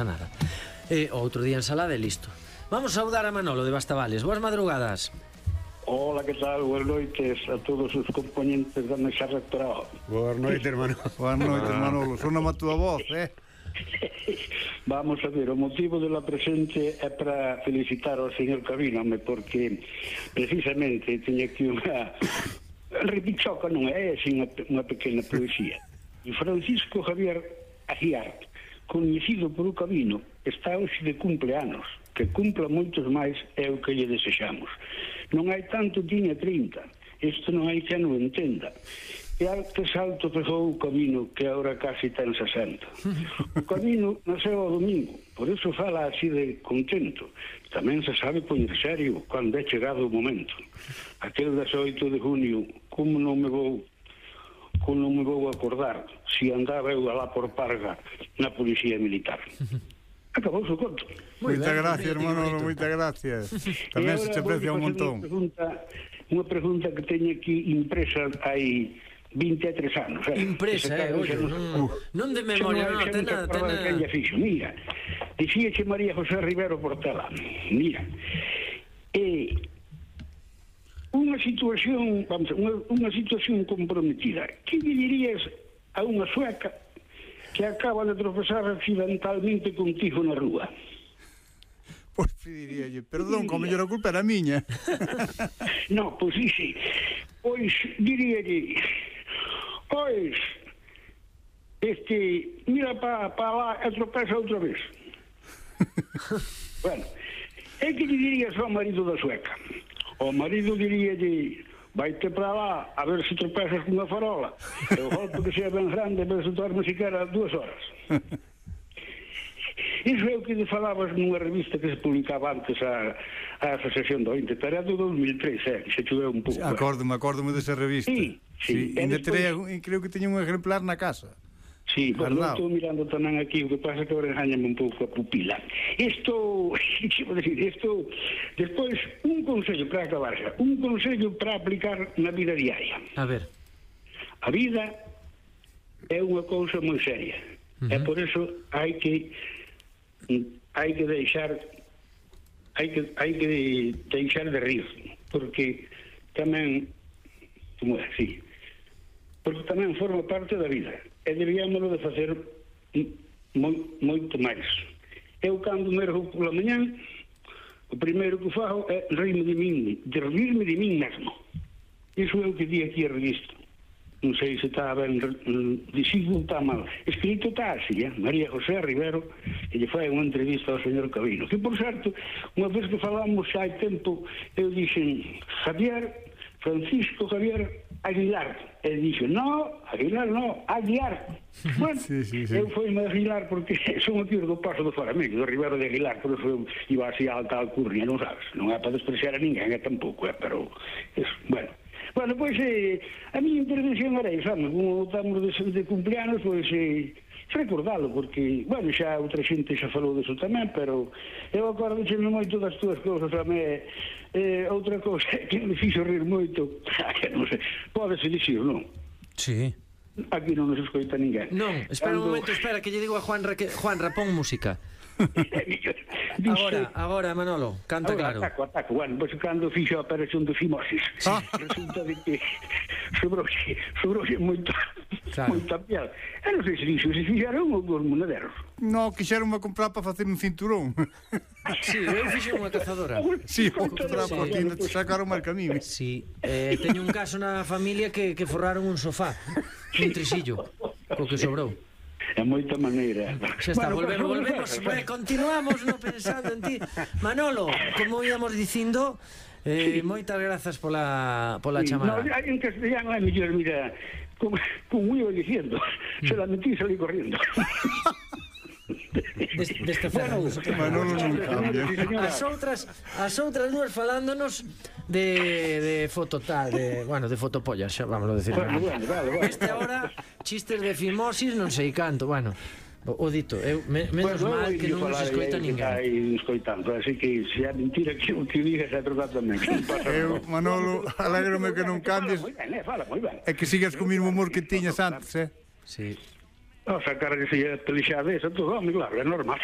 nada. Outro día ensalada e listo. Vamos a saudar a Manolo de Bastavales. Boas madrugadas. Hola, que tal? Boas noites a todos os componentes da mesa rectoral. Boas noites, Manolo. Boas noites, Manolo. Sóname a túa voz, Vamos a ver, o motivo de la presente é para felicitar ao señor Cabíname, porque precisamente teña aquí unha repichoca, non é así unha pequena poesía. E Francisco Javier Aguiar, coñecido por o Cabino, está hoxe de cumpleanos, que cumpla moitos máis é o que lle desexamos. Non hai tanto, tiña 30, isto non hai que non entenda. E que salto pegou o Cabino, que agora casi ten 60. O Cabino nasceu ao domingo, por iso fala así de contento. Tamén se sabe poñer serio cando é chegado o momento. Aquel 18 de junio, como non me vou acordar se andaba eu alá por Parga na policía militar. Acabou o conto. Moitas gracias, Manolo, moitas gracias. Tamén se te aprecia un montón. Unha pregunta que teño aquí impresa hai 23 anos. Impresa, non de memoria, non, ten nada. Mira, dicíache María José Rivero Portela, mira, unha situación comprometida. Que lle dirías a unha sueca que acaba de tropezar accidentalmente contigo na rúa? Pois diríalle, perdón, como mellor a culpa era miña. No, pois sí. Pois diríalle, pois mira para lá e tropeza outra vez. Bueno, é que lle dirías ao marido da sueca? O marido diríalle, vaite para lá a ver se tropezas cunha farola, e o golpe que sea ben grande, a ver se dorme siquiera 2 horas. Iso é o que falabas nunha revista que se publicaba antes a Asociación do 20, pero é do 2003, que se choveu un pouco. Acórdome desa revista. Sí. Creo que teña un ejemplar na casa. Sí, pues non estou mirando tamén aquí, o que pasa que ahora engañame un pouco a pupila. Isto, despois, un consello para acabar xa, un consello para aplicar na vida diaria. A ver. A vida é unha cousa moi seria, e por eso hai que deixar de rir, porque tamén, como é, sí, porque tamén forma parte da vida, e debíamoslo de facer moito máis. Eu, cando me ergo pola mañán, o primeiro que fago é rirme de min mesmo. Iso é o que di aquí a revista. Non sei se está ben dicido, está mal escrito, está así, María José Rivero, que lle fai unha entrevista ao señor Cabino, que por certo, unha vez que falamos xa hai tempo, eu dixen Francisco Javier Aguilar, e dixo, no, Aguilar no, Aguiar. Bueno, sí. Eu foi-me Aguilar porque son aquí do Paso do Faramego, do Rivero de Aguilar, por eso iba así a alta alcurnia, non sabes, non é para despreciar a ninguén, tampouco, pero eso, bueno, pois a miña intervención era isso, como estamos de cumpleanos, pois recordalo, porque, bueno, xa outra xente xa falou disso tamén, pero eu acordo-me moito das túas cousas tamén. Outra cousa que me fixo rir moito, non sei, pódese dicir, non? Sí. Aquí non nos escoita ninguén. Non, espera un momento, espera, que lle digo a Juanra, pon música. Agora, Manolo, canta claro. Ataco, bueno, pois cando fixo a operación de fimosis, resulta de que sobrouxe moita piel. E non sei se dixo, se fixaron os monaderos. No, quixeronme comprar para facer un cinturón. Sí, eu fixo unha cazadora. Sí, vou comprar por ti, te sacaron mal camiño. Sí, teño un caso na familia que forraron un sofá, un trisillo, co que sobrou. De moita maneira. Xa está, volvemos. Continuamos no pensando en ti. Manolo, como íamos dicindo, moitas grazas pola chamada. No, en castellano é mellor, mira, como iba diciendo, se la metí e salí corriendo. Deste Fernando Manolo non cambia. As outras duas falándonos de fototal, de fotopollas, xa vamos a decir. Vale. Este agora chistes de fimosis, non sei canto, bueno. O dito, menos mal que non nos escoita ninguén. Así que se é mentira que o que digas é verdade tamén. Manolo, alégrome que non cambies. Fala moi ben. É que sigas co mismo humor que tiñas antes, Sí. Sacar que se pelexade esa, todo, claro, é normal.